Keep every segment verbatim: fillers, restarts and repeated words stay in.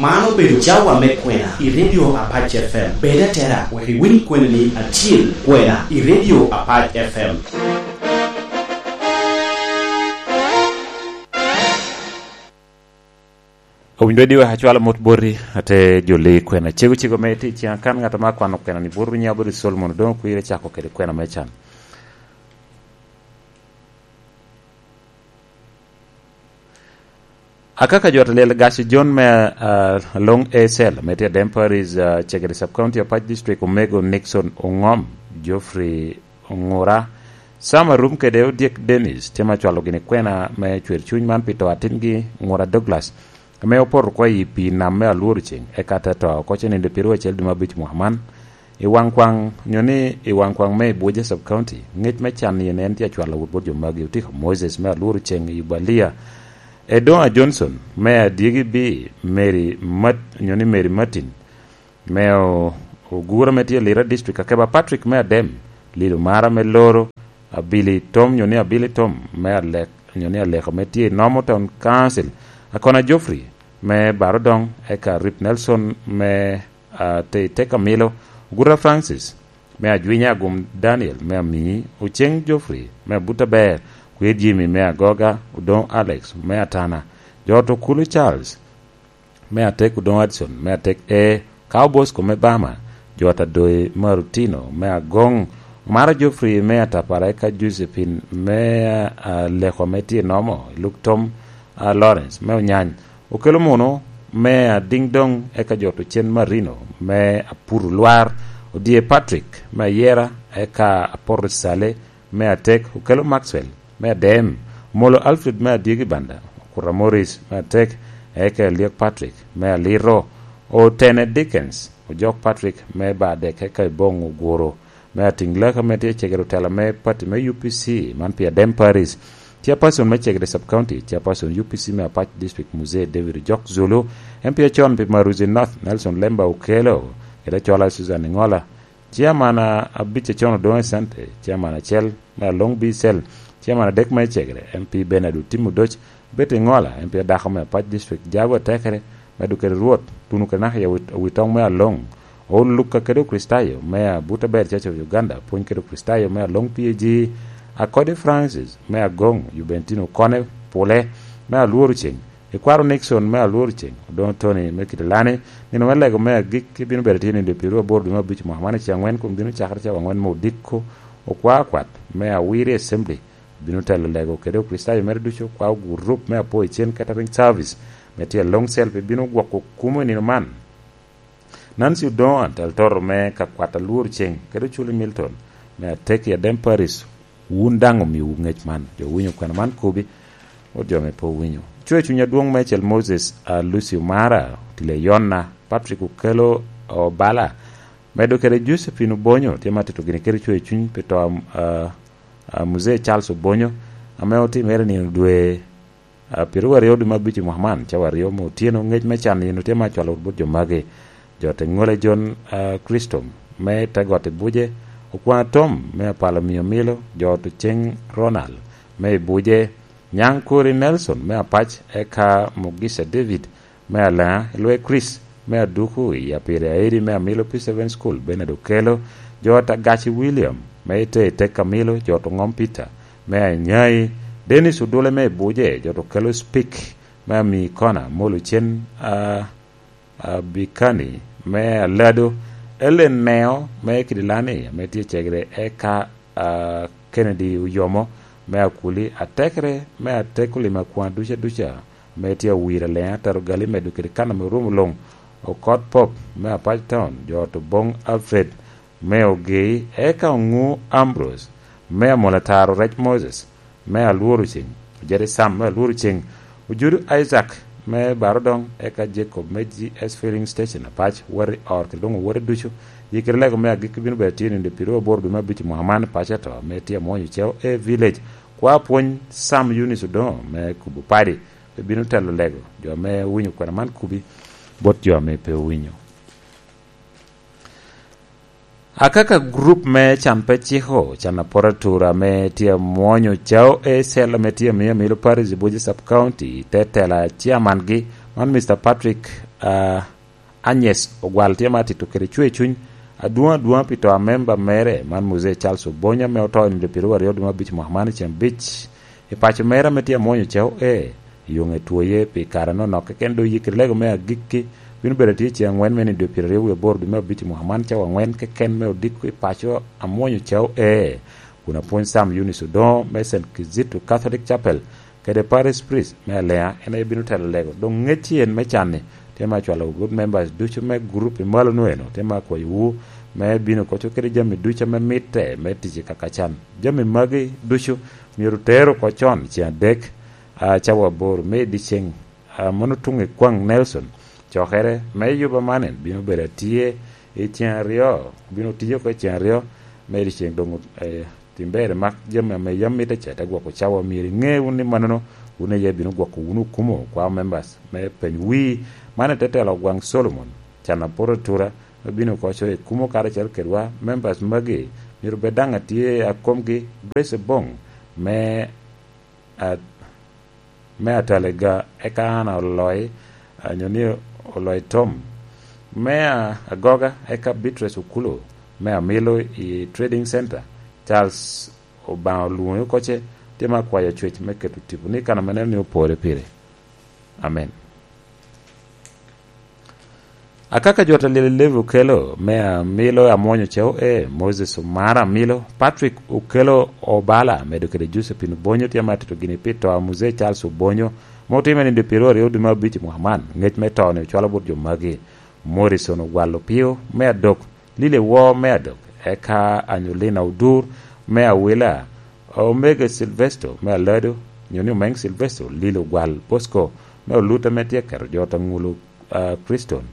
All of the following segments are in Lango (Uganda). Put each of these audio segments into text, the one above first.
Man obedo cawa me kwena i Radio Apac F M. Bed atera wek iwiny kweni ni atyel kwena i Radio Apac F M. Owinjo di wek acwalo mot boti, ate joli kwena cego cego me tic, kan ŋat ma kwano kwena ni bot Runya bot i Solomon, doŋ okwire cako kede kwena me can. Akaka jo atel gac John me, ah, Long A Cell, me tye Adem Parish, ah, Chegere Sub County, Apac District, Omego Nixon Ongom, Geoffrey Ongura, Sam Arum kede Odyek Dennis, tye ma cwalo gini kwena me cwer cuny man pi to atingi Ngura Douglas, ame opoto oko i pii nam me Alworo Ceng, eka te to oko cenindo pyeru acel dwe me abic mwaka man. I waŋ kwaŋ, nyo ni i waŋ kwaŋ me Ibuja Sub County, ŋec me can ni en tye acwalo wot bot jo magi, otiko Moses me Alworo Ceng i Ubalia, Edonga Johnson me Adyegi B, Mary Mat-, nyo ni Mary Martin, me o-, Ogura me tye Lira District, Akeba Patrick me Adem, Lido Mara me Loro, Abili Tom, nyo ni Abili Tom me Alek, nyo ni Aleko me tye i Nomo Town Council, Akona Geoffrey me Barodong, eka Rip Nelson me, ah, te, Teka Milo, Ogura Francis me Ajwinya, Agum Daniel me Amii, Oceng Geoffrey me Abuta Ber, Kwer Jimmy me Agoga, Odong Alex me Atana, Jot Okulu Charles me Atek, Odongo Addison me Atek E, Kao Bosco me Bama, Jot Adoyi me Arutino me Agong, Omara Geoffrey me Atapara, eka Josephine me, ah, Leko me tye Nomo, Luk Tom, ah, Lawrence me Onyany, Okelo Muno me Adingdong, eka Jot Ocen Marino me Apuru Lwar, Odie Patrick me Ayera, eka Apoto Sale me Atek, Okelo Maxwell me Adem, Omolo Alfred me Adyegi Banda, Okura Morris me Atek, eka Eliek Patrick me Aliro, Otene Dickens, Ojok Patrick me Badek, eka Ibong Oguro me Ating Laka me tye cegere otela me pati me U P C, man pi Adem Paris. Chairperson me Cegere Sub County, Chairperson U P C me Apac District Mzee David Ojok Zulu, M P acon pi Maruzi North Nelson Lemba Okelo, kede acola Susan Ngola, Chairman a-, abic acon Odongo Asante, Chairman acel me Along B Cell, Chairman adek me Cegere, M P Bernard Otim Odoc, Betty Ngola, M P adako me Apac District, Jago Atekere, medo kede Rwot, tuno kede naka i awi-, awitong me Along, Oul Luka kede Okricitayo me Abuta Ber Church of Uganda, pwony kede Okricitayo me Along P A G, Akodi Francis me Agong, Jubentino Kone Pule me Alworo Ceng, Ikwaro Nixon me Alworo Ceng, Odongo Tony me Kitilani, nino me lego me agikki bino bedo tye nindo pyeru aboro dwe me abic mwaka man i ceng angwen, kun bino cakere cawa angwen me odiko. Okwa akwat me Awiri Assembly bino telo lego kede Okricitayo mere ducu, okwa gurup me Apo i Cen Catering Service me tye Long Cell, pe bino gwoko kumo i nino man. Nancy Odongo, atel toto me ka kwat Alworo Ceng, kede Oculi Milton me Atek i Adem Paris, wun daŋ omiowu ŋec man. Jo winyo kwena man kubi, wot jo me pe owinyo. Cwe cuny adwoŋ me Cel Moses, a, Lucy Omara, Otile Yonna, Patrick Okelo Obala, medo kede Josephine Obonyo, tye ma tito gini kede cwe cuny pi to, a, a, Muzee Charles Obonyo, ame otimere nino dwe, a, pyeru aryo dwe me abic i mwaka man, cawa aryo me otyeno, ŋec me can nino tye ma cwalo wot bot jo magi. Jo te ŋole John, a, Christo me te got i Buje, Okwaŋ Tom me Apalo Mio Milo, jo to Ceng Ronald me i Buje, Nyaŋ Kori Nelson me Apac, eka Mugisa David me Alaŋa, Lwe Chris me Aduku i Apiri Aidi me Amilo P seven School, Bernard Okelo, jo ta Gaci William me ite i Tek Amilo, jo to Ŋom Peter me Anyai, Dennis Odule me i Buje, jo to Kelo Spik me Ami Kona, Molo Cen, a, Abikani me Alado, Ellen Neo me Kidilani ame tye cegere, eka, a, Kennedy Oyomo me Akuli, Atekere me Atek Olimo Akwaŋ duca duca ame tye Awiro Aleŋa, Taro Gali medo kede kan ame orumo luŋ, Okot Pop me Apac Town, jo to Bong Alfred me Ogei, eka Oŋu Ambrose me Amola Taro, Rec Moses me Alworo Ceng, Ojede Sam me Alworo Ceng, Ojudu Isaac me Barodong, eka Jacob me G S Filling Station Apac, wati ot kede doŋ owote ducu. Yikere lego me agikki bino bedo tye nindo pyeru aboro dwe me abic i mwaka man, paco ato ame tye amwonyo Ceo A Village. Kwa pwony Sam Eunice Odongo me Kubo Padi, pe bino telo lego jo ame owinyo kwena man kubi bot jo ame pe owinyo. Akaka gurup me can pe ciko, can apot atura ame tye amwonyo Cao A Cell ame tye amiyo Amilo Parish i Buji Sub County, te tela chairman gi, man Mister Patrick Ah, Agnes Ogwal tye ma atito kede cwer cuny adwoŋ adwoŋ pi to a memba mere, man Muzee Charles Obonyo, ame oto i nino pyeraryo aryo dwe me abic mwaka man i ceng abic i paco mere ame tye amwonyo ceo e. Yoŋe twoye pi kare anonok keken, dok yikere lego me agikki bino bedo atye i ceng angwen me nino pyeraryo wie aboro dwe me abic i mwaka man, cawa angwen keken me odiko i paco amwonyo ceo e. Kun apwony Sam Eunice Odoŋo me Saint Kizito Catholic Chapel kede Parish Priest me Alea en aye bino telo lego. Doŋ ŋec en me can-ni tye me acwalo wot members ducu me gurup i malo-nu eno, tye me akwayowu me bino koco kede jami ducu ame mitte me tic i kaka can. Jami magi ducu myero oter oko con i ceng adek, a, cawa aboro me i dyeceŋ, a, mano tuŋ i kwaŋ Nelson. Cokere me yuba man en bino bedo atye i ceng aryo, bino tiyo oko i ceng aryo me i dyeceŋ doŋ, eh, Tim ber imak jami ame yam mitte ca, te gwoko cawa. Myero iŋe wun ni mannono wun aye bino gwoko wunu okumo kwao members me peny wi. Man ete telo gwaŋ Solomon, can aporo atura, me bino oko coyo ekumo karacel kedwa. Members magi myero bed daŋ atye a komgi Grace Ebong me, a, me Atalega, eka Anna Oloi, a, nyo ni Oloi Tom, me, a, Agoga, eka Beatrice Okulo, me Amilo i Trading Center, Charles Obaŋa olwoŋi oko ce, tye me akwayo cwec me keto tipo ni kan ame neno ni opore pire. Amen. Akaka jo ta lyel i Levi okelo, me Amilo Amwonyo Ceo E, Moses Omara Amilo, Patrick Okelo Obala, medo kede Josephine Obonyo, tye me atito gini pi to a Muzee Charles Obonyo, ma otime nino pyeraryo dwe me abic i mwaka man. Ŋec me to-ni ocwalo bot jo magi: Morrison Ogwal Opio, me Adok, Lili Woo, me Adok, eka Anyolina Odur, me Awila, Omega Silvesto, me Alado, nyo ni Omeng Silvesto, Lili Ogwal Bosco, me Oluta, ame tye keto jo ta ŋulo, a, Kriston,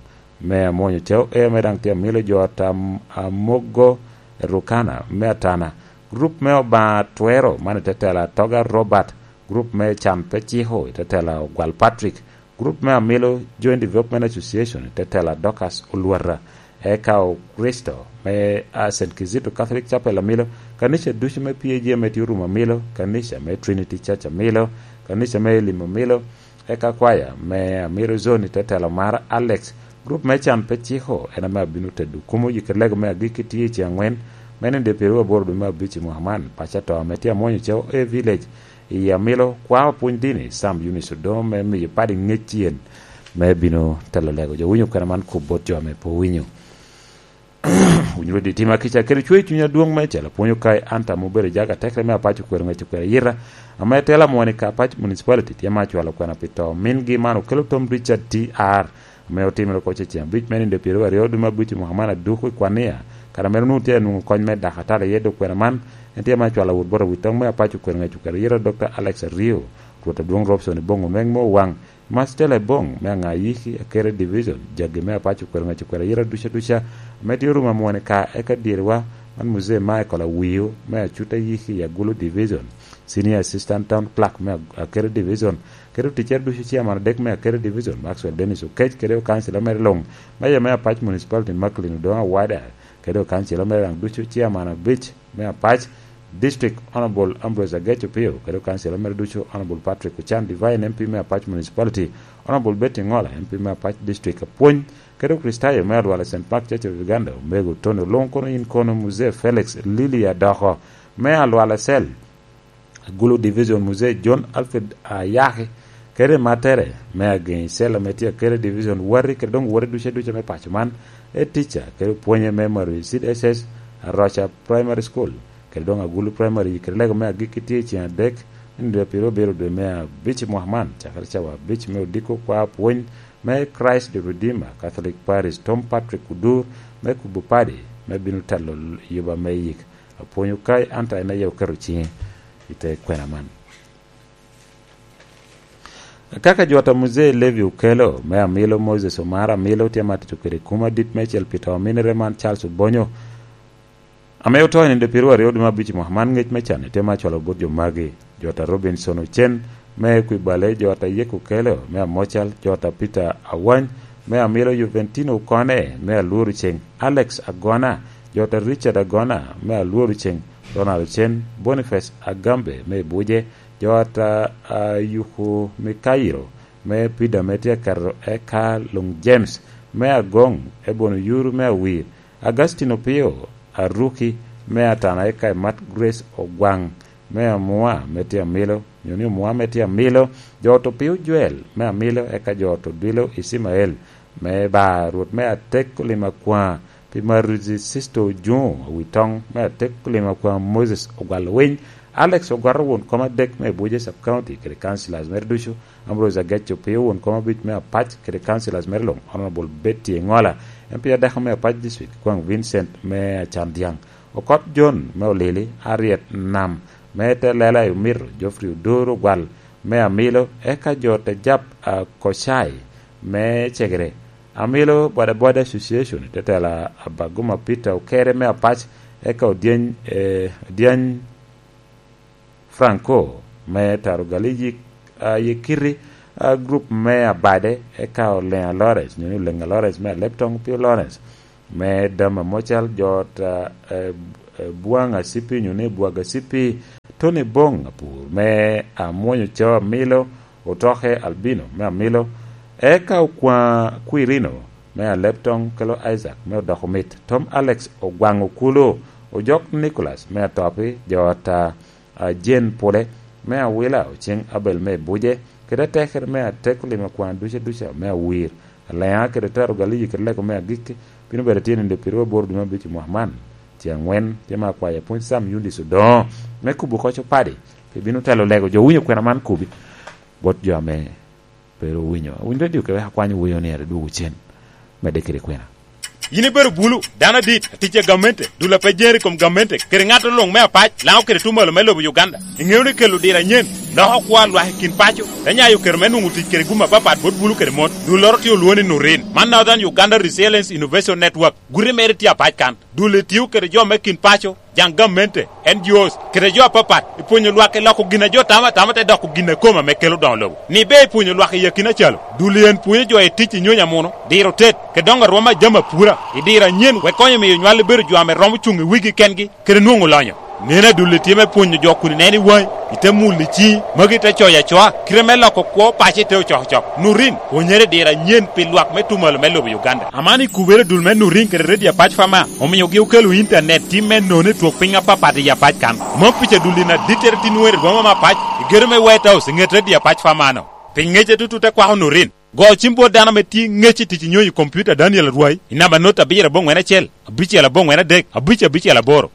me Amwonyo Ceo E, ame daŋ tye Amilo, jo ta Am-, Amogo Rukana, me Atana, grup me Obaŋa Twero, man i te telo Atoga Robert, grup me Can Pe Ciko, i te telo Ogwal Patrick, grup me Amilo Joint Development Association, i te telo Dorcas Olwata, eka Okristo me, a, Saint Kizito Catholic Chapel Amilo, kanica ducu me P A G ame tye orumo Amilo, kanica me Trinity Church Amilo, kanica me Elim Amilo, eka kwaya me Amilo Zone i te telo mar Alex, grup me Can Pe Ciko, en ame abino tedo kumo yikere lego me agikki tye i ceng angwen, me nino pyeraryo aboro dwe me abic i mwaka man, paco ato ame tye Amwonyo Ceo A Village, i Amilo, kwao pwony dini, Sam Eunice Odoŋo, me miyo padi ŋec yen, me bino telo lego jo winyo kwena man kop bot jo ame pe owinyo. Winy rwodi tima kica kede cwer cuny adwoŋ me cel apwonyo kai, an tam obedo jaga tekre me apac okwero ŋec okwero ayita, ame tela mwani ka apac municipality tye ma acwalo kwena pi to mingi man okelo Tom Richard T R, ame otimere oko cecen abic me nino pyeraryo dwe me abic i mwaka man aduko i Kwania, kara mere onwoŋo tye anwoŋo kony me dakatala iye dok kwena man, en tye ma acwalo awot bot awitoŋ me apac okwero ŋec okwero ayita Doctor Alex Ario, Rwot adwoŋ Robson Iboŋo Nweng me Owaŋ, Mastela Ebong me Aŋayiki Akere Division, jagi me apac okwero ŋec okwero ayita duca duca, ame tye orumo amwone ka eka dyerwa, man Muzee Michael Awio me Acuta Yiki i Agulu Division, Senior Assistant Town Clerk me Ag-, Akere Division, kede oticcere ducu, Chairman adek me Akere Division, Maxwell Dennis Okec, kede okancila mere luŋ, Mayor me apac Municipality Macklin Odoŋo Awada, kede okancila mere daŋ ducu, Chairman abic me apac District Honorable Ambrose Agec Opio, kede okancila mere ducu, Honorable Patrick Ochan Divine, M P me apac Municipality, Honorable Betty Ŋola, M P me apac District Apwony, kede Okristayo me Alwala Saint Mark Church of Uganda, Omego Tony Olunkono, in kono Muzee Felix Lili Adoko, me Alwala Cell, Agulu Division, Muzee John Alfred Ayaki, kede mattere me Agenyi Cell ame tye Akere Division, wati kede doŋ woti duca duca me paco man, e tica kede pwonye me Maroyi Seed S S, Aroca Primary School, kede doŋ Agulu Primary, kede lego me agikki tye i ceng adek, me nino pyeraryo abiro dwe me abic i mwaka man, cakere cawa abic me odiko kwa pwony me Christ the Redeemer Catholic Parish, Tom Patrick Odur, me kubo padi, me bino telo yuba me yik. Apwonyo kai, an ta en aye oketo ciŋe i te kwena man. Kaka jwot a Muzee Levi Okelo, me Amilo Moses Omara Amilo, tye ma atito kede kum adit meicel pi to a minere man Charles Obonyo, ame oto i nino pyeraryo dwe me abic i mwaka man, ŋec me can tye ma acwalo bot jo magi: Jwot a Robinson Ocen, me Kwibale, jwot a Yek Okelo, me Amocal, jwot a Peter Awany, me Amilo, Juventino Okone, me Alworo Ceng, Alex Agona, jwot a Richard Agona, me Alworo Ceng, Ronald Ocen, Boniface Agambe, me Buje, jwot a, a Yuku Mikairo, me Pida me tye aketo eka luŋ James me Agoŋ, Ebon Oyuru me Awir, Agustin Opio Aruki me Atana, eka Imat Grace Ogwaŋ me Amua me tye Amilo, nyo ni Omua me tye Amilo, jo ot Opio Joel me Amilo, eka jo ot Odwilo Icimael me Bar, Rwot me Atek Olim Akwaŋ, pi Maruzi Sisto Ojuŋo, Awitoŋ me Atek Olim Akwaŋ Moses Ogwal Winy, Alex Ogwato won kom adek me Abuja Sub County kede councillors mere ducu, Ambrose Agec Opio won kom abic me Apac kede councillors mere luŋ, Honorable Betty Engola, M P adako me Apac District, Kwaŋ Vincent me Acandyaŋ, Okot John me Olili, Harriet Nam me Telela i Omito, Geoffrey Odoro Ogwal me Amilo, eka jo te jap a Kocai me Cegere, Amilo Bodaboda Association, Tetela Abaguma Peter Okere me Apac, eka Odyeny, eh, Odyeny Franco me Taro Gali Yik-, ah, Yekiti, ah, group me Abade, eka Olenga Lawrence, nyo ni Olenga Lawrence me Aleptong Pio Lawrence, me Dama Mocal, jo ot, ah, eh, eh, Bwaŋ Asipi, nyo ni Bwag Asipi, Tony Bong Apur me Amwonyo Cawa Milo, Otoke Albino me Amilo, eka Okwaŋ Kwirino me Aleptong, kelo Isaac me Odoko Mit, Tom Alex Ogwaŋ Okulu, Ojok Nicholas me Atopi, jo ot, ah, a Jane Pule me Awila, Oceng Abel me Buje, kede atekere me Atek Olim Akwaŋ duca duca me Awir, Aleŋa kede Taro Galiyi kede Lego me Agikki, bino bedo tye nino pyeraryo aboro dwe me abic i mwaka man. Tye aŋwen, tye me akwayo apwony Sam Yundis Odoŋo me kubo koc opadi, pe bino telo lego jo winyo kwena man kubi bot jo ame pe ru owinyo. Awinyo redio kewek akwany wuyo ni ere dwogo cen, medde kede kwena. Yin ibedo bulu, dano adit, atic a gamente, dul a pe jeri i kom gamente, kede ŋat oluŋ me apac, Laŋo kede Tumalo me lobo Uganda. Iŋeo ni kelo diro anyen, loko kwo a lwak i kin paco, te nyayo kero me nwoŋo tic kede gum apapat bot bulu kede mon. Dulloro tye olwoŋo ni Nurin. Man Northern Uganda Resilience Innovation Network. Guti mere tye apac kan. Dul etio kede jo me kin paco, jaŋ gamente, N G Os, kede jo apapat, i pwonyo lwak i loko gin a jo tamo atama te doko gin a kome ame kelo doŋo lobo. Ni be i pwonyo lwak i akina calo, dul en pwonyo jo i tic i nyonyo amuno, diro tet, kede doŋo arwom a jami apura, i diro anyen wek konyo miyo nywal bedo jo ame romo cuŋ i wigi kengi, kede nwoŋo lonyo. Nen adul itye me pwonyo jo kun ineno i waŋi, ite mulo i ciŋi, magi te coyo acoa, kite me loko kwo paco ite ocokocok. Nurin, pwonyere i diro anyen pi lwak me Tumalo me lobo Uganda. Aman i kubere dul me Nurin kede Redio Apac Fama, omiogi okelo intanet tim me nono i twok piny apapat i Apac kan. Mom pica dul in adittere tin were i boma me Apac, i gedo me White House, i ŋet Redio Apac Fama-no. Pi ŋece tutu te kwako Nurin. Go cim bot dano ame tye ŋec i tic i nyonyo i kompiuta Daniel Arwai, i namba not abiro aboŋwen acel, abicel aboŋwen adek, abic abicel aboro.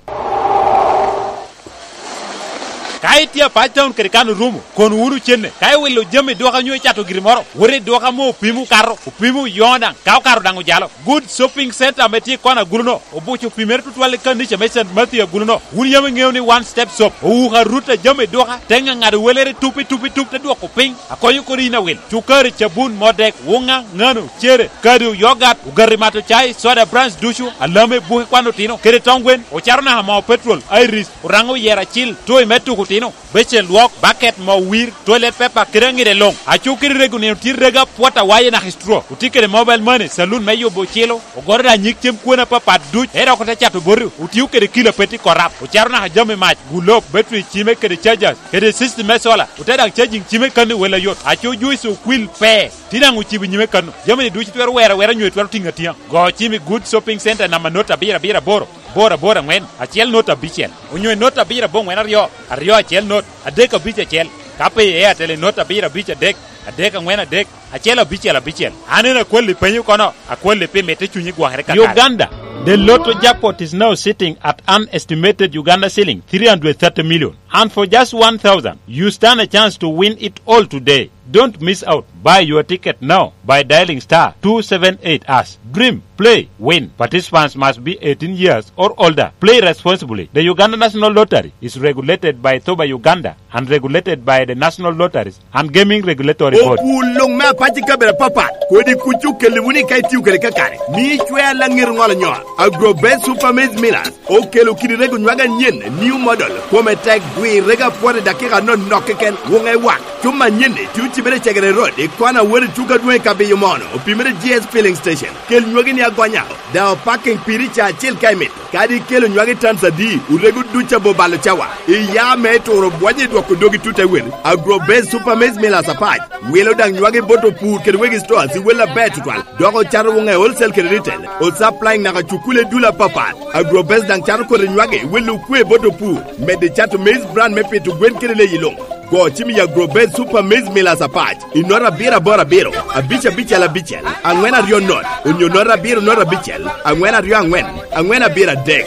Ka itye apac taun kede kan orumo, kono wunu cenne. Ka iwilo jami dwoka nyo icato giri moro, wot i dwoka ame opimo okato, opimo oyoŋo daŋ, ka okato daŋ ojalo. Good Shopping Center ame tye i kona agulu-no, obuco pi mere tutwal i kanica me Saint Matthew agulu-no. Wun yam iŋeo ni One Step Shop owuko arut a jami dwoka, te ŋaŋado welere tup i tup i tup te dwoko piny, akonyo kodi yin awil. Cukari, cabun, modek, wuŋa, ŋano, cere, kado, yogat, ogati mato cai, soda brands ducu, alame, buke kwan otino, kede tong gwen, ocato naka moo petrol, iris, oraŋo oyero acil, toy me tuko otino, becel lwok, baket, moo wir, toilet paper, kede aŋide luŋ. Acu kede rego nino tye rego apwot awaye naka i straw. Otye kede mobile money, saloon me yubo ocilo, ogoro da nyig cem kwena apapat duc, te dok ote cato boti, otio kede kilo apet i korap, ocato naka jami mac, gulob, battery cime kede chargers, kede system me solar, ote daŋ charging cime kano i wel ayot. Acu juice okwil pe, tye daŋ ocibo i nyime kano. Jami-ni ducu twero wero awera nyo twero tiŋo atiŋa. Go cim i Good Shopping Center namba not abiro abiro aboro, aboro aboro aŋwen, acel not abicel, onyo i not abiro aboŋwen aryo, aryo acel not, adek abic acel. Ka pe i Airtel i not abiro abic adek, adek aŋwen adek, acel abicel abicel. An en akwalli penyo kono, akwalli pi mitte cunyi gwokere kakare. Uganda, the Lotto jackpot is now sitting at an estimated Uganda shilling three hundred thirty million. And for just one thousand, you stand a chance to win it all today. Don't miss out. Buy your ticket now by dialing star two seven eight hash. Dream, play, win. Participants must be eighteen years or older. Play responsibly. The Uganda National Lottery is regulated by Thoba Uganda and regulated by the National Lotteries and Gaming Regulatory Board. Okul luŋ me apac i kabedo apapat, kodi kuc okelli wunu i ka itio kede kakare. Mi icwer laŋet oŋolo nyo. Agro Best Super Maize Millers okelo kidi rego nywag anyen, new model, kome tek, Wirrega pwod i dakika anonok keken, wuŋe wak. Cuma anyenni tye ocibere i Cegere Road, i kwana wot i tuka adwoŋ i Kabiyo Mono, opimere G S Filling Station. Kel nywagi ni agonya, daŋ opaking piri ca acel ka imito. Kadi ikelo nywagi tons adi, orego duc abo balo cawa. Iya me turo bwonye i dwoko dogi tut ewel. Agro Base Super Maize Millers Apac wilo daŋ nywagi bot opur kede wegi stores i wel aber tutwal. Dok ocato wuŋe wholesale kede retail. Osupplying naka cukule dul apapat. Agrobest daŋ cato kodi nywagi, welo okwe bot opur. Medde cato maize bran me pito gwen kede leyi luŋ. Go cim i Agrobest Super Maize Millers Apac i nota abiro aboro abiro, abic abicel abicel, aŋwen aryo not, onyo nota abiro not abicel, aŋwen aryo aŋwen, aŋwen abiro adek.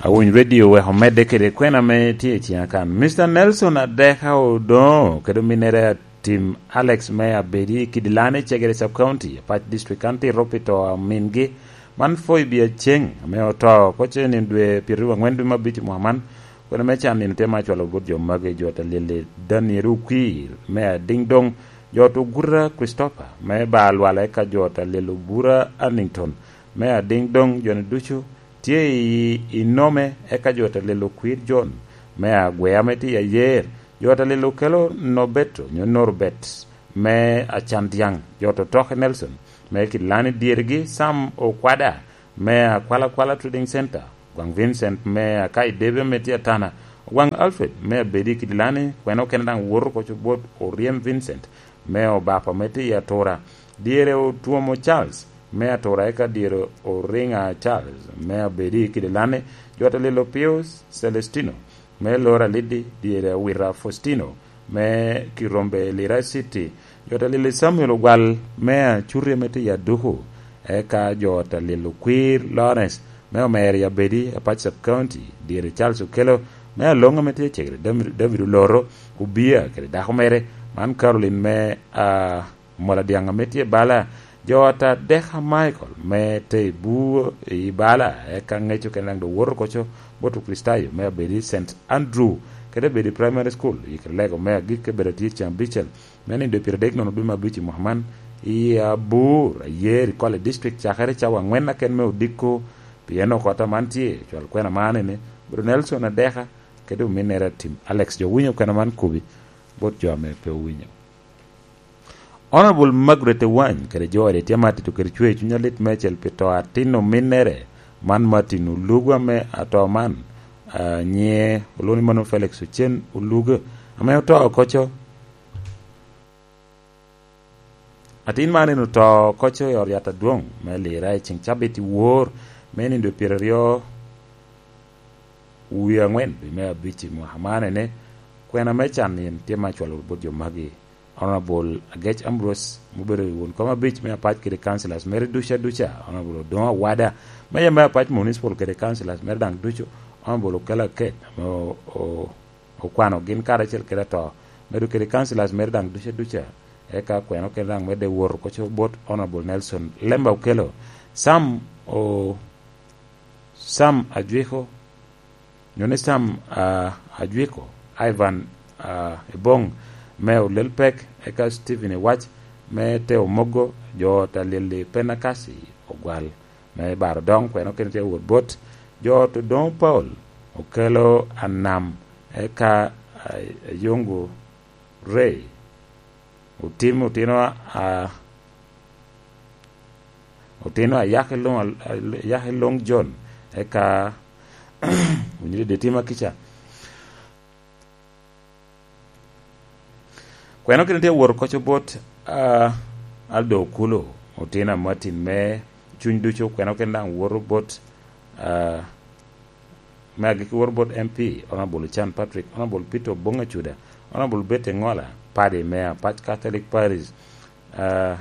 Awiny Radio wek omedde kede kwena ame tye i ciŋa kan. Mister Nelson Adeka Odongo kede ominnere Tim Alex me Abedi i Kidilani, Cegere Sub County, Apac District, kan tito pi to a mingi. Man Phoebe Aceng ame oto oko ce nino dwe pyeraryo angwen dwe me abic i mwaka man. Kwena me can nino tye ma acwalo bot jo magi, jo ot a lyel-li Daniel Okwir me Adingdong, jo ot Oguta Christopher me Balwala, eka jo ot a lyel Obura Annington me Adingdong, jo-ni ducu tye i, i nome, eka jo ot a lyel Okwir John me Agwea ame tye i Ayer, jo ot a lyel Okelo Nobeto nyo Norbert me Acandiaŋ, jo ot Otoke Nelson me Kilani, dyergi Sam Okwada me Akwalakwala Trading Center, Gwaŋ Vincent me Akai Debe ame tye Atana, Ogwaŋ Alfred me Abedi Kidilani, kwena okene daŋ woto oko co bot Oryem Vincent me Obapa ame tye i Atura, dyere Otwomo Charles me Atura, eka dyere Oriŋa Charles me Abedi Kidilani, jo ot a lyel Pius Celestino me Lora Liddi, dyere Awita Faustino me Kirombe Lira City, jo ot a lyel Samuel Ogwal me Acuti ame tye i Aduku, eka jo ot a lyel Okwir Lawrence me Omeri Abedi, Apac Sub County, dyere Charles Okello me Aloŋ ame tye i Cegere, David, David Oloro Obia kede dako mere, man Caroline me, ah, Mola Dyaŋ ame tye bala, jo ot Adeka Michael me te i Bur i bala, eka ŋec okene daŋ doŋ woto oko co bot Okricitayo me Abedi Saint Andrew kede Abedi Primary School i Kirlego me agikki, Abedi tye ceng abicel me nino dwe pyeradek nono dwe me abic i mwaka man i Abur, Ayer, i Kole District, cakere cawa aŋwen aken me odiko. Pien okot aman tye, cwal kwena man ene, Bro Nelson Adeka kede ominnere Atim Alex. Jo winyo kwena man kubi bot jo ame pe owinyo. Honorable Margaret Ewany kede jo ode tye ma tito kede cwer cuny alit meicel pi to atin ominnere man, Martin Olugo, ame ato man, ah, nyiŋe olwoŋo ni mano Felix Ocen Olugo, ame oto oko co. Atin man en oto oko co i ot yat adwoŋ me Lira i ceŋ cabit i wor me nino dwe pyeraryo wie aŋwen dwe me abic i mwaka man. Ene kwena me can nino tye ma acwalo bot jo magi. Honorable Agec Ambrose, ma obedo won kom abic me Apac kede councillors mere duca duca, Honorable Odoŋo Awada, Mayor me Apac Municipal kede councillors mere daŋ ducu, Honorable Okello Aket, ame o-, o-, okwano gin karacel kede ato, medo kede councillors mere daŋ duca duca, eka kwena okene daŋ medde wot oko co bot Honorable Nelson Lemba Okello, Sam o-, Sam Ajwiko, nyo ni Sam, ah, Ajwiko, Ivan, ah, Ebong me Olelpek, eka Stephen Iwac me Teo Mogo, jo ot a lyel-li Penakasi Ogwal me Baro Doŋ, kwena okene tye wot bot jo ot Odoŋo Paul, Okello Anam, eka, ah, Ayongo Ray, Otim otino a, a, otino a Yak i Loŋ, a, Yak i Loŋ John, eka Onyirede Tima kica. Kwena okene tye wot oko co bot, a, Aldo Okulu, otino a Martin me cuny ducu, kwena okene daŋ woto bot, a, me agikki woto bot M P, Honorable Ochan Patrick, Honorable Peter Obong Acuda, Honorable Betty Ngola, Paddy me Apac Catholic Parish, ah,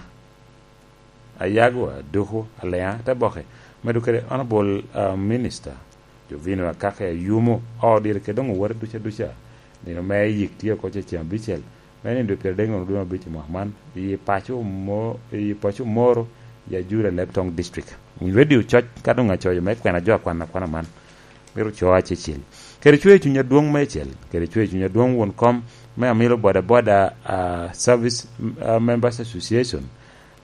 Ayagwa Duku Aleŋa te boke, medo kede Honorable, ah, Minister Jovino Akaka Ayumo, o dire kede doŋ owote duca duca, nino me yik tye oko ce ceŋ abicel, me nino dwe pyeradek nono dwe me abic i mwaka man, i paco Mo-, i paco Moro, i Ajuri, Alebtong District. Winy Radio Coc ka doŋ acoyo me kwena jo akwan akwana man. Myero co acecel. Kede cwer cuny adwoŋ meicel, kede cwer cuny adwoŋ won kom me Amilo Boda Boda, ah, Service, ah, Members Association,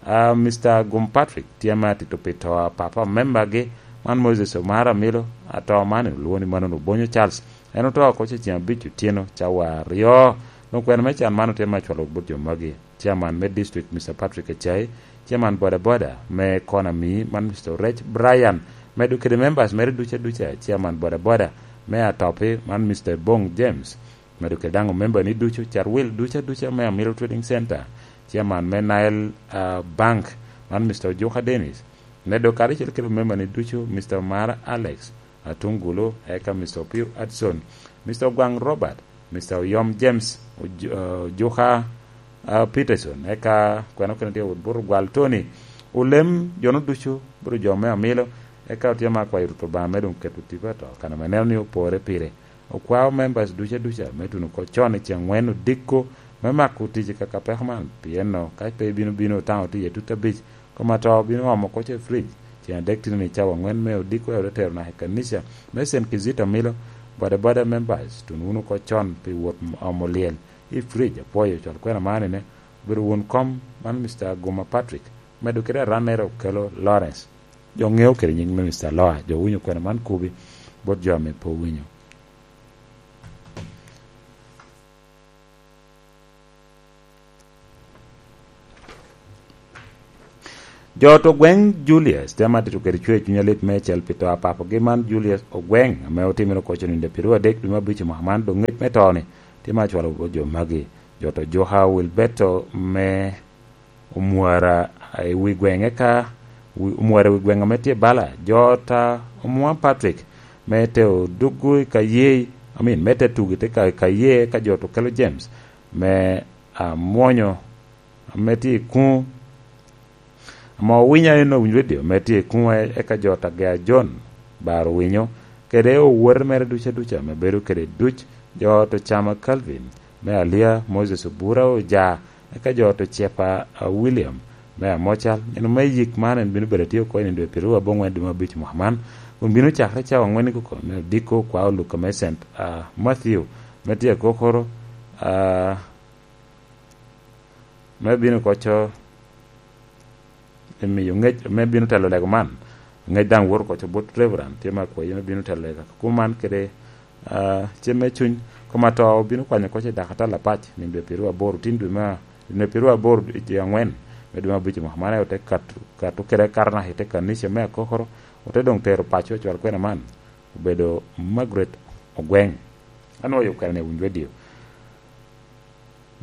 ah, Mister Gum Patrick, tye ame atito pi to a papa membagi, man Moses Omar Amilo, ato man olwoŋo ni Manon Obonyo Charles, En oto oko cecen abic otyeno cawa aryo. Doŋ kwena me can man otye me acwalo bot jo magi: Chairman me district, Mister Patrick Acai, Chairman boda boda me Economy man, Mister Orec Brian, medo kede members mere ducu aduca, Chairman boda boda me Atopi man, Mister Bong James, medo kede daŋ omembani ducu, Carwil ducu aduca me Amilo Trading Center, Chairman me Nile, ah, Bank man, Mister Ojuka Dennis, medo karacel kede omembani ducu, Mister Omara Alex, Atungulu, eka Mister Opio Hudson, Mister Ogwaŋ Robert, Mister Oyom James, Oju-, eh, Ojuka, ah, Peterson, eka kwena okene tye wot buto gwal Tony. Olem jono ducu, buto jo me Amilo, eka otye ma akwayo Rwot Obaŋa me doŋ keto tipo ato, kan ame neno ni opore pire. Okwao members duca duca me tuno oko con i ceŋ ŋwen odiko me mako tic i kaka peko man, pien no, ka pe ibino bino taŋo tye i tut abic, kom ato bino omo oko i fridge. Ceŋ adek tye ni cawa ŋwen me odiko, ote tero naka i kanica me Saint Kizito Amilo, boda boda members, tuno wunu oko con pi wot omo lyel i fridge. Apwoyo cwal kwena man ine, obedo won kom man, Mister Aguma Patrick, medo kede arannere Okelo Lawrence. Jo ŋeo kede nyiŋ me Mister Loa, jo winyo kwena man kubi bot jo ame pe owinyo. Jo to gweŋ Julius, tye ma tito kede cwer cuny alit meicel pi to a papogi man, Julius Ogweŋ, ame otimere oko i nino pyeraryo adek dwe me abic i mwaka man, doŋ ngec me to-ni tye ma acwalo bot jo magi. Jo to Juka Wilberto me Omwara i wi gweŋ, eka wi-, Omwara i wi gweŋ ame tye bala, jo ta Omwa Patrick me te oduggo i Kayee, I mean, me te tugo i te Ka-, Kayee, eka jo to Kelo James me Amwonyo ame tye i kuŋ, ame owinyo en owinyo redio ame tye i kuŋ, eka jo ta Gea John Baro Winyo, kede owote mere duca duca ame bedo kede duc, jo to Chama Calvin me Alia, Moses Obura Oja, eka jo to Cepa, a, William me Amocal. Nino me yik man en bino bedo atye oko i nino dwe pyeraryo aboŋwen dwe me abic mwaka man, kun bino cakere cawa aŋwen i koko me odiko kwa Oluka me Saint, a, Matthew me tye akokoro, a, me bino koco emiyo ŋec me bino telo lego man. Ŋec daŋ woto koco bot Reverend tye me akwayi me bino telo lego kuman kede, ah, cem me cuny. Kom ato obino kwanyo koco i dakatal apac, nino dwe pyeraryo aboro, tin dwe me, nino dwe pyeraryo aboro dwe aŋwen me dwe me abic mwaka man, ote kato, kato kede karnak i te kanica me akokoro, ote doŋ tero paco cwal kwena man, obedo Margaret Ogweng. Anwoyo kwena ni Awinj Radio.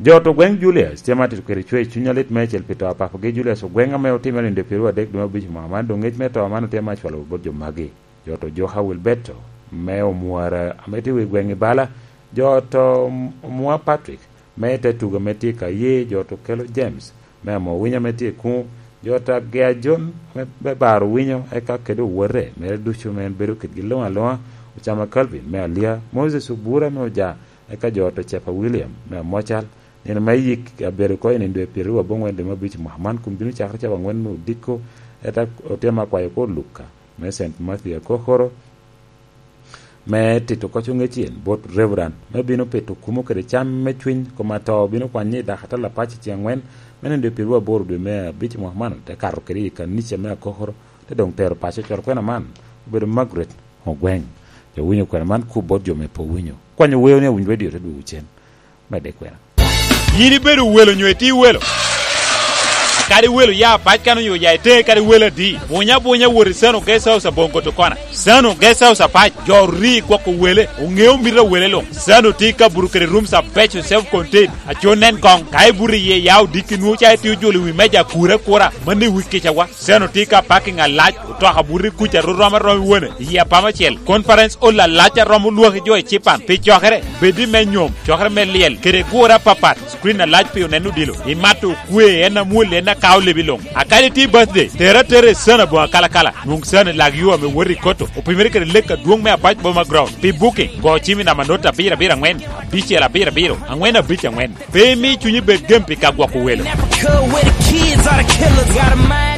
Jo to gweŋ Julius tye ma tito kede cwer cuny alit meicel pi to a papagi Julius Ogweŋ ame otimere nino dwe pyeraryo adek dwe me abic mwaka man, doŋ ŋec me to man otye ma acwalo bot jo magi. Jo to Joka Wilberto me Omwara ame tye i wi gweŋ i bala, jo to Omwa Patrick me te tugo ame tye i Kayee, jo to Kelo James me Amo Winyo ame tye i kuŋ, jo to Agea John me, me Baro Winyo, eka kede owote mere ducu ame en bedo kedgi luŋ aluŋa, Ocama Calvin me Alia, Moses Obura me Oja, eka jo to Cepa William me Amocal. Nino me yik abedo oko i nino dwe pyeraryo aboŋwen dwe me abic mwaka man, kun bino cakere cawa aŋwen me odiko, eka otema kwayo oko Luka me Saint Matthew akokoro, me tito koc oŋec en bot Reverend, me bino pito kumo kede cam me cwiny, kom ato bino kwanye i dakatal apac i ceŋ aŋwen, me nino dwe pyeraryo aboro dwe me abic mwaka man, te kato kede i kanica me akokoro, te doŋ tero paco cwal kwena man, obedo Margaret Ogweng. Jo winyo kwena man kub bot jo me pe owinyo. Kwanyo weo ni Awinj Radio te dwogo cen. Medde kwena. Yin ibedo welo nyo itye welo? Kadi welo ya apac kan onyo ya ite, kadi welo adi. Bunya bunya wot i Sano Guest House aboŋo Gotokona. Sano Guest House apac, jo ori gwoko wele, oŋeo mito a wele luŋ. Sano tye ka buto kede rooms abeco self contained, aco nen koŋ. Ka ibuto iye ya odiki nwoŋo ca itye ojolo i wi meja akura akura, mano i wi kicawa. Sano tye ka parking alac, otoka buto i kuca ro rom arom i wone, i apama acel. Conference hall alac a romo lwaki jo i cipan pi cokere, bed i me nyom, cokere me lyel, kede gure apapat. Screen alac pi oneno odilo. Imato okwe, en amwol, en akao lebi luŋ. A kadi tye birthday, tere atera i Sano aboŋo akalakala. Nwoŋ Sano i lak yo ame woto i Koto, opimere kede lek adwoŋ me Apac Boma Ground. Pi booking, go cim i namba not abiro abiro aŋwen, abicel abiro abiro, aŋwen abic aŋwen. Pe imi cunyi bed gem pi ka gwoko welo.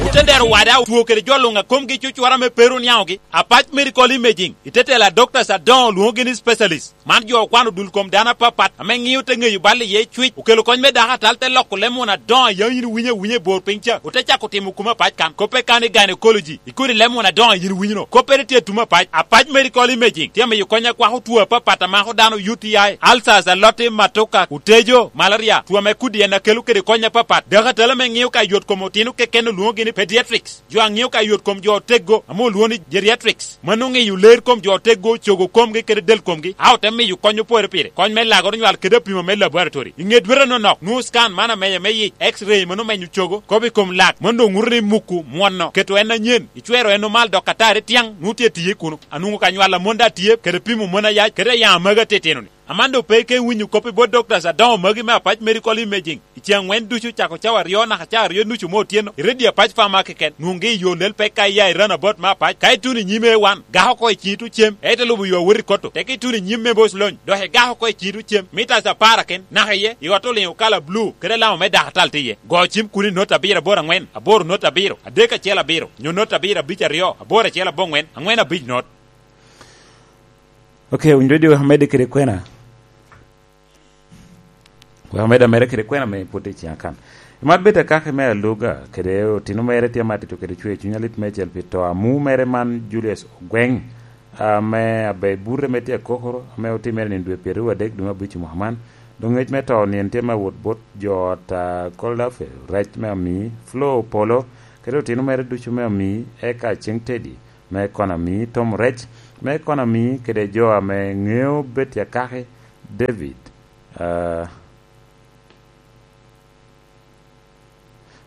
Otendero Wada otwo kede jo luŋ a komgi cucwara me pe run yaŋogi. Apac Medical Imaging, i te tela doctors adoŋo lwoŋogi ni specialist. Man jo okwano dul kom dano apapat, ame ŋio te ŋeyo bal iye cwic. Okelo kony me dako atal te loko lem won adoŋo a yam yin iwinyo awinya i bor piny ca. Ote cako timo kuma apac kan. Koppe kan i gynecology, ikodi lem won adoŋo a yin iwinyo no. Koppere tye atum apac. Apac Medical Imaging tye amiyo kony akwako two apapat a mako dano, U T I, ulcers, aloti, matoka, otejo, malaria, two ame kudi en akelo kede kony apapat. Dako atal ame ŋio ka yot kom otino keken olwoŋogi ni pediatrics. Jo a ŋio ka yot kom jo oteggo, ame olwoŋo ni geriatrics, mano ŋeyo ler kom jo oteggo, cogo komgi kede del komgi, a ote miyo kony opore pire, kony me lago nywal kede apimo me laboratory. I ŋe dwete nonok, nwoŋo scan man amenya me yic, X-ray mano menyo cogo, kop i kom lak, mano doŋ ŋuto ni muku mwono, keto en anyen, icwero en omal dok atari tyaŋ, nwoŋo tye tiye kuno. Anwoŋo ka nywal amon da tye, kede pimo mon ayac, kede ayaŋ amagi atitino-ni. Amando pe ike winyo kop i bot doctors adoŋo magi me Apac Medical Imaging. I ceŋ aŋwen ducu cako cawa aryo naka cawa aryo nucu me otyeno, i redio Apac Pharma keken, nwoŋgi i yo lel pek ka iya i runabout me Apac. Ka ituno i nyim A one, gako oko i ciŋi tucem, ite lubo yo awot i Kotto. Teke ituno i nyim me Bos Lony, dok igako oko i ciŋi tucem, mitas apar aken, naka iye, i ot oliŋo kala blu, kede alama me dakatal tye iye. Go cim kuno i not abiro aboro aŋwen, aboro not abiro, adek acel abiro, nyo not abiro abic aryo, aboro acel aboŋwen, aŋwen abic not. Ok, winyo redio amedde kede kwena. Wek amed ameda kede kwena me pwod i ciŋa kan. Imat bet akaki me aluga, kede otino mere tye amatito kede cwer cuny alit meicel pi to amu mere man Julius Ogweng, ame abe burre me tye akokoro, ame otimere nino dwe pyeraryo adek dwe me abic i mwaka man. Doŋ ngec me to nino tye me awot bot jo ot a Koldafe, rec me ami, Flo Opolo, kede otino mere ducu me ami, eka Ceng Teddy, me Konami, Tom Rec, me Konami, kede jo ame ŋeo bet akaki, David, ah,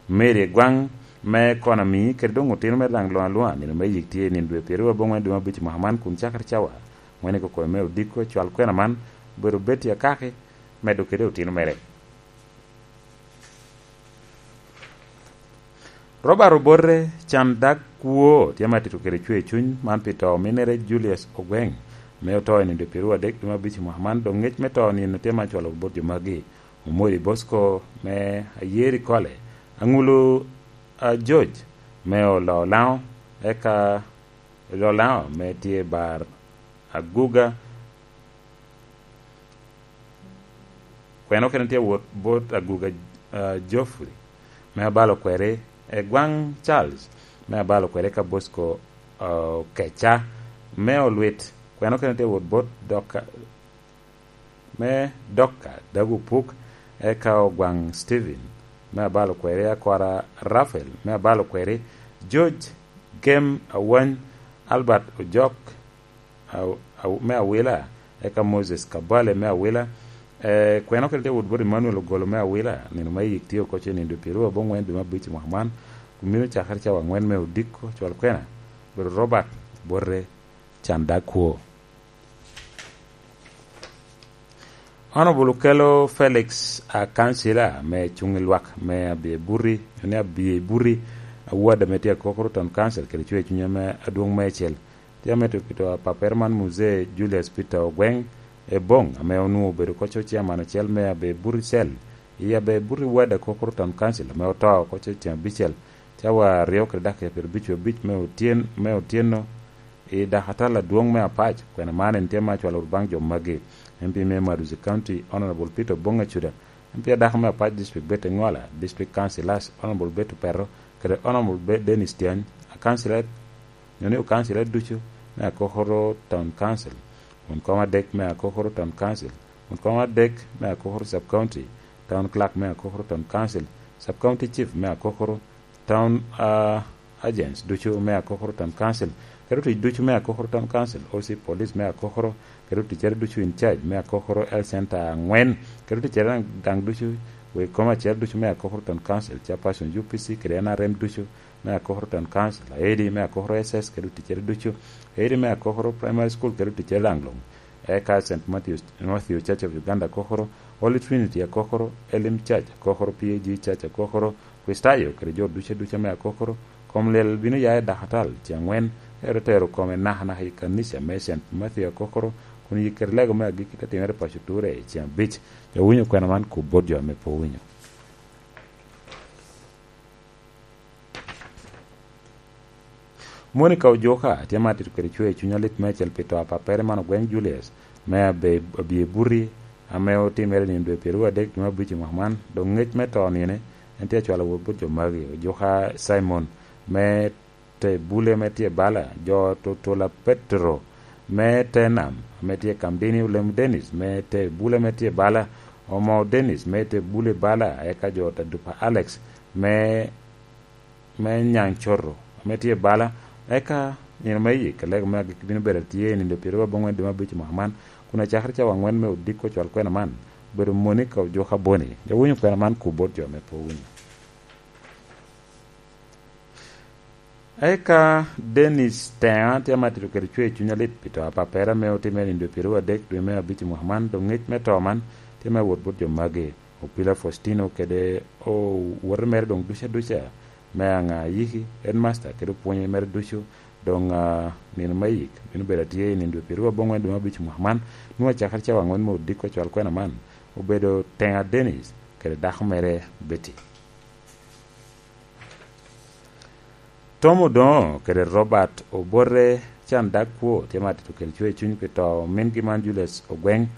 Mary Egwaŋ, me Konami, kede doŋ otino mere daŋ luŋ aluŋa, nino me yik tye i nino dwe pyeraryo aboŋwen dwe me abic i mwaka man, kun cakere cawa aŋwen i kokome me odiko, cwal kwena man, obedo bet i akaki, medo kede otino mere. Robert Obote, can dag kwo, tye amatito kede cwer cuny man pi to ominere Julius Ogweng, ame oto i nino dwe pyeraryo adek dwe me abic i mwaka man, doŋ ngec me to nino tye me acwalo bot jo magi. Omori Bosco me Ayeri Kole, Aŋulu, a, George me Oloo Laŋo, eka Oloo Laŋo me tye bar Aguga, kwene okene tye wot bot Aguga, a, Geoffrey me abalo kweri, Egwaŋ Charles me abalo kweri, eka Bosco, a, Okeca me Olwit, kwene okene tye wot bot Doka, me Doka Dagu Puk, eka Ogwaŋ Stephen me abalo kweri, Akora Rafael me abalo kweri, George Gem Awany, Albert Ojok, Aw-, Aw-, me Awila, eka Moses Kabale me Awila. Eh, kwene okene tye wot bot Emmanuel Ogolo me Awila, nino me yik tye oko ce nino dwe pyeraryo aboŋwen dwe me abic i mwaka man, kun mino cakere cawa aŋwen me odiko, cwal kwena, obedo Robert Bote, can dag kwo. Honorable Okello Felix, a kansila me cuŋ i lwak me Abyebury, ni Abyebury, award ame tye akokoro Town Council, kede cwer cuny ame adwoŋ meicel. Tye amito pito apappere man Muzee Julius Peter Ogweng Ebong, ame onwoŋo obedo koco chairman acel me Abyebury Cell, i Abyebury Ward akokoro Town Council, ame oto koco ceŋ abicel, cawa aryo kede dakika pyerabicwi abic me otyen-, me otyeno, i dakatal adwoŋ me Apac. Kwena man en tye me acwalo wot baŋ jo magi: M P me Maduzi County, Honorable Peter Obong Acuda, M P adako me Apac District Betty Ngola, District Councillors, Honorable Betty Opeto, kede Honorable Be-, Dennis Tyany, a councillor, nyo ni okancilor ducu me Akokoro Town Council, won kom adek me Akokoro Town Council, won kom adek me Akokoro Sub County, Town Clerk me Akokoro Town Council, Sub County Chief me Akokoro, Town, ah, Agents ducu me Akokoro Town Council, kede otic ducu me Akokoro Town Council, O C Police me Akokoro, kede oticere ducu in charge me Akokoro Health Center aŋwen, kede oticere daŋ, daŋ ducu, wek kom acel ducu me Akokoro Town Council, chairperson U P C kede N R M ducu me Akokoro Town Council, aidi me Akokoro S S kede oticere ducu, aidi me Akokoro Primary School kede oticere daŋ luŋ, eka Saint Matthew, Matthew Church of Uganda Akokoro, Holy Trinity Akokoro, Elim Church Akokoro, P A G Church Akokoro, Kricitayo kede jo ducu aduca me Akokoro. Kom lyel bino ya i dakatal ceŋ aŋwen, ero tero kome nakanaka i kanica me Saint Matthew Akokoro, kun yik kede lego me agikki te timere i paco Ture i ceŋ abic. Jo winyo kwena man kop bot jo ame pe owinyo. Monica Ojuka tye ma atito kede cwer i cunya lit meicel pi to a pappere man ogweng Julius me Abe-, Abye Buti, ame otimere i nino dwe pyeraryo adek dwe me abic i mwaka man, dok ngec me to nine en tye acwalo wot bot jo magi: Ojuka Simon me te Bule ame tye bala, jo Tutula Petro me te nam ame tye i Kamdini, Olem Dennis me te Bule ame tye bala, Omo Dennis me te Bule bala, eka jo Tadupa Alex me me Nyaŋ Coto ame tye bala. Eka nino me yik, alego me agikki bino bedo atye i nino pyeraryo abongwen dwe me abic i mwaka man, kun acakere cawa aŋwen me odiko cwal kwena man obedo Monica Ojuka Boni. Jo winyo kwena man ku bot jo ame pe owinyo. Eka Dennis Teŋa tye ma atito kede cwer i cunya lit pi to a pappere ame otimere i nino pyeraryo adek dwe me abic i mwaka man, dok ngec me to man tye me wot bot jo magi: Opila Faustino kede owote mere doŋ duca duca, me aŋa yiki, headmaster kede opwonye mere ducu. Doŋ, ah, nino me yik bino bedo atye i nino dwe pyeraryo abongwen dwe me abic i mwaka man, nwoŋo acakere cawa aŋwen me odiko cwal kwena man obedo Teŋa Dennis kede dako mere Betty. Tom Odoŋo kede Robert Obote can dag kwo tye ma atito kede cwer i cuny pi to mingi man Julius Ogweng,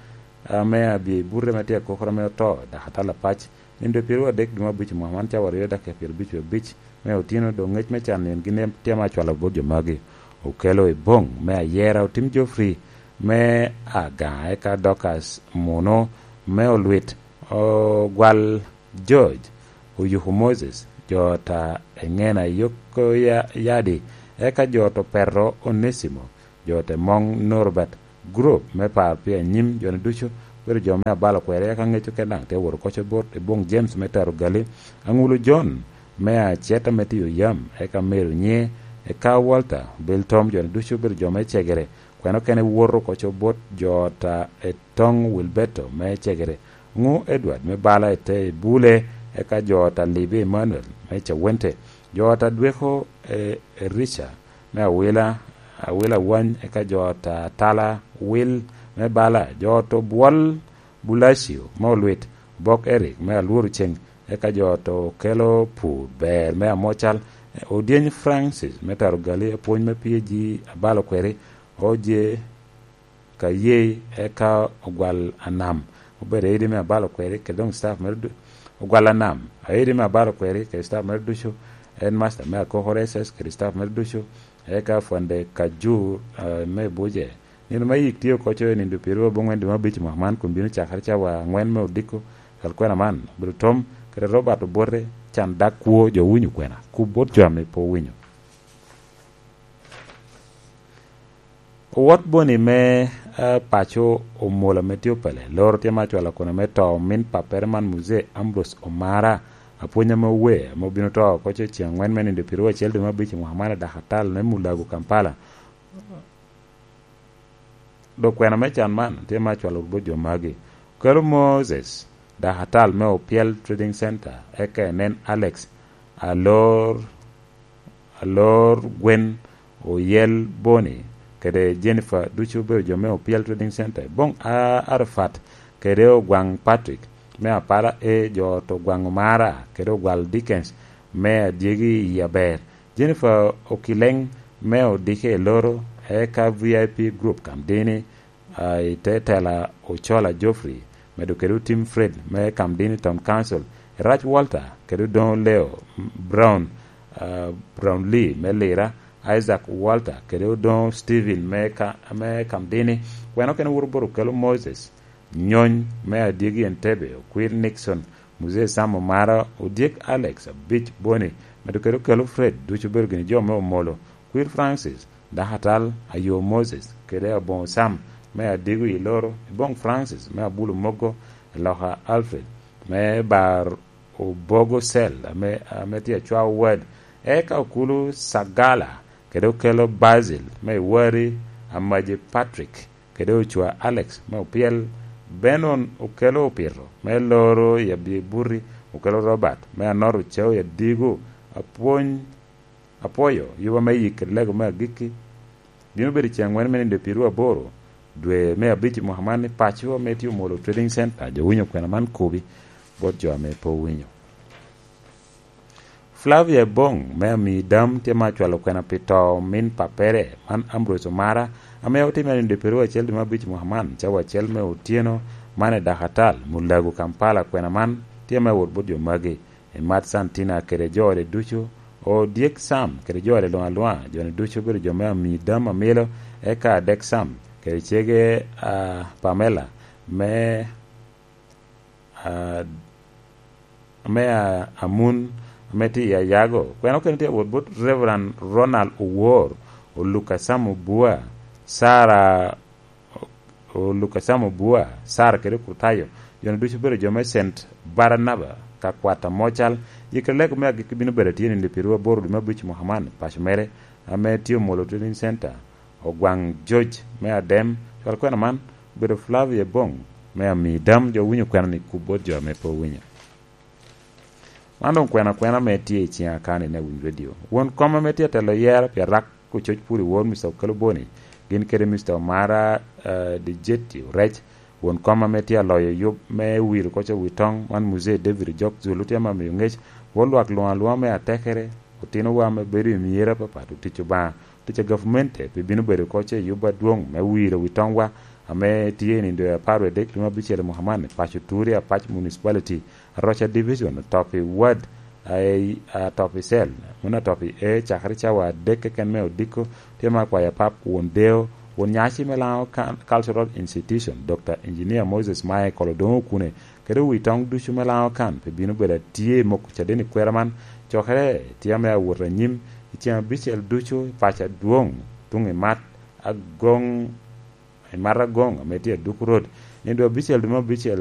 ame Abye Buti ame tye akokoro ame oto, dok atal apac. Nino dwe pyeraryo adek dwe me abic i mwaka man cawa aryo dakika pyerabicwi abic me otino, dok ngec me can nino gin tye ma acwalo bot jo magi: Okelo Ebong me Ayera, Otim Geoffrey me Aga, eka Dorcas Muno me Olwit, Ogwal George, Oyuku Moses, jo ta Eŋena Yoko Ya-, Yadi, eka jo to Petro Onesimo, jo te Moŋ Norbert, group me par pi anyim, joni ducu bedo jo me abalo kweri, eka ŋeco ken daŋ te wot oko bot Ebong James me Taro Gali, Aŋulu John me Aceta me Tiyo Yam, eka Mary Onye, eka Walter Biltom, joni ducu bedo jo me Cegere, kwena okene woto oko bot jo ta Etoŋ Wilberto me Cegere, Ŋu Edward me bala i te Bule, eka jo ta Libi Emmanuel me Cawente, jo ta Dweko, e, Erica me Awila, Awila Wany, eka jo ta Tala Wil me bala, jo to Bwol Bulacio me Olwit, Bok Eric me Alworo Ceng, eka jo to Okelo Pur Ber me Amocal, Odyeny Francis me Taro Gali, apwony me P A G abalo kweri, Oje Kayei, eka Ogwal Anam obedo aidi me abalo kweri, kede doŋ staff mere du-, Ogwal Anam, aidi me abalo kweri, kede staff mere ducu, headmaster me Akokoro S S kede staff mere ducu, eka Fwande Kajur, eh, me Buje. Nino me yik tye oko i nino dwe pyeraryo abongwen dwe me abic i mwaka man, kun bino cakere cawa aŋwen me odiko. Cwal kwena man obedo Tom kede Robert Obote can dag kwo, jo winyo kwena, ku bot jo ame pe owinyo. Owot Boni me, eh, paco Omolo ame tye Opele, loro tye ma acwalo kono me to omin pappere man, Muzee Ambrose Omara, apwony ame owe, ame obino to oko i ceŋ aŋwen me nino dwe pyeraryo acel dwe me abic i mwaka man i dak atal me Mulago, Kampala. Dok kwena me can man tye ma acwalo bot jo magi: Okelo Moses, dak atal me Opyel Trading Center, eka enen Alex Alor, Alor Gwen, Oyel Boni, kede Jennifer, ducu obedo jo me Opyel Trading Center. Boŋ A-, Arafat kede Ogwaŋ Patrick me Apala A, jo to Ogwaŋ Omara kede Ogwal Dickens me Adyegi i Aber, Jennifer Okileŋ me Odike i Loro, eka V I P Group Kamdini, ah, i te tela Ocola Geoffrey, medo kede Otim Fred me Kamdini Town Council, Erac Walter kede Odoŋo Leo Brown, ah, Brown Lee me Lira, Isaac Walter kede Odoŋo Stephen me Ka-, me Kamdini, kwena okene wuro bot Okelo Moses, Nyony me Adyegi Entebbe, Okwir Nixon, Muzee Sam Omara, Odyek Alex, Abic Boni, medo kede Okelo Fred, ducu obedo gini jo me Omolo, Kwir Francis, Dakatal Ayo Moses, kede Aboŋo Sam me Adigo i Loro, Iboŋ Francis me Abulo Mogo, Eloka Alfred me Bar Obogo Cell, ame, ame tye Acwao Ward, eka Okulu Sagala, kede Okelo Basil me Iwari, Amaje Patrick, kede Ocwa Alex me Opyel, Benon Okelo Opito me Loro i Abibuti, Okelo Robert me Anot Ocau i Adigo, Apwony, Apwoyo, Yuba me Yik kede Lego me Agikki. Bino bedo i ceŋ aŋwen me nino dwe pyeraryo aboro, dwe me abic i mwaka man i paco ame tye Omolo Trading Center. Jo winyo kwena man kobi bot jo ame pe owinyo. Flavia Ebong me Amii Dam tye ma acwalo kwena pi to omin pappere, man Ambrose Omara, ame otime i nino pi ryo acel dwe me abic mwaka man, cawa acel me otyeno, man i Dakatal, Mulago, Kampala. Kwena man tye me wot bot jo magi, i Mat Santina kede jo ode ducu, Odyek Sam kede jo ode luŋ aluŋa, jo-ni ducu obedo jo me Amii Dam Amilo, eka Adek Sam kede cege, a, Pamela me, a, me, a, Amun, ame tye i Ayago. Kwena okene tye wot bot Reverend Ronald Owor, Oluka Sam Obua, Sarah, O-, Oluka Sam Obua, Sarah kede Kutayo, jo-ni ducu obedo jo me Saint Barnaba, ka kwat Amocal. Yikere lego me agikki bino bedo atye nino pi ryo aboro dwe me abic mwaka man i paco mere, ame tye Omolo Trading Center, Ogwaŋ George me Adem. Cwal kwena man obedo Flavia Ebong me Amii Dam. Jo owinyo kwena-ni, kub bot jo ame pe owinyo. Man doŋ kwena kwena ame tye i ciŋa kan i Winy Radio. Won kom ame tye atelo yero pi arak ococ pwod i wor Mister Okello Boni, gin kede Mister Omara, eh, Dijeti Orec, won kom ame tye aloyo yub me wiro koc wi toŋ, man Muzee David Ojok Zulu, tye ame miyo ŋec bot lwak luŋ aluŋa me atekere, otinowa ame bedo i myero apapat, otic Obaŋa, tic a gavmente, pi bino bedo koc i yub adwoŋ me wiro wi toŋwa, ame tye i nindo apar wie dek dwe me abicel i mwaka man, i paco Turi, Apac Municipality, Aroca Division, oto pi wad, a, a, oto pi cell, mano oto pi A, cakere cawa adek keken me odiko, tye ma akwayo apap won deo, won nyaci me Lango Can-, Cultural Institution, Doctor Engineer Moses Michael Odongo Okune, kede wi toŋ ducu me Lango Can, pi bino bedo atye i moko caden i kwera man, cokere tye ame awot anyim i ceŋ abicel ducu i paco adwoŋ, tuŋ i Mat Agoŋ, i Mat Agoŋ, ame tye Aduku Road, nindo abicel dwe me abicel,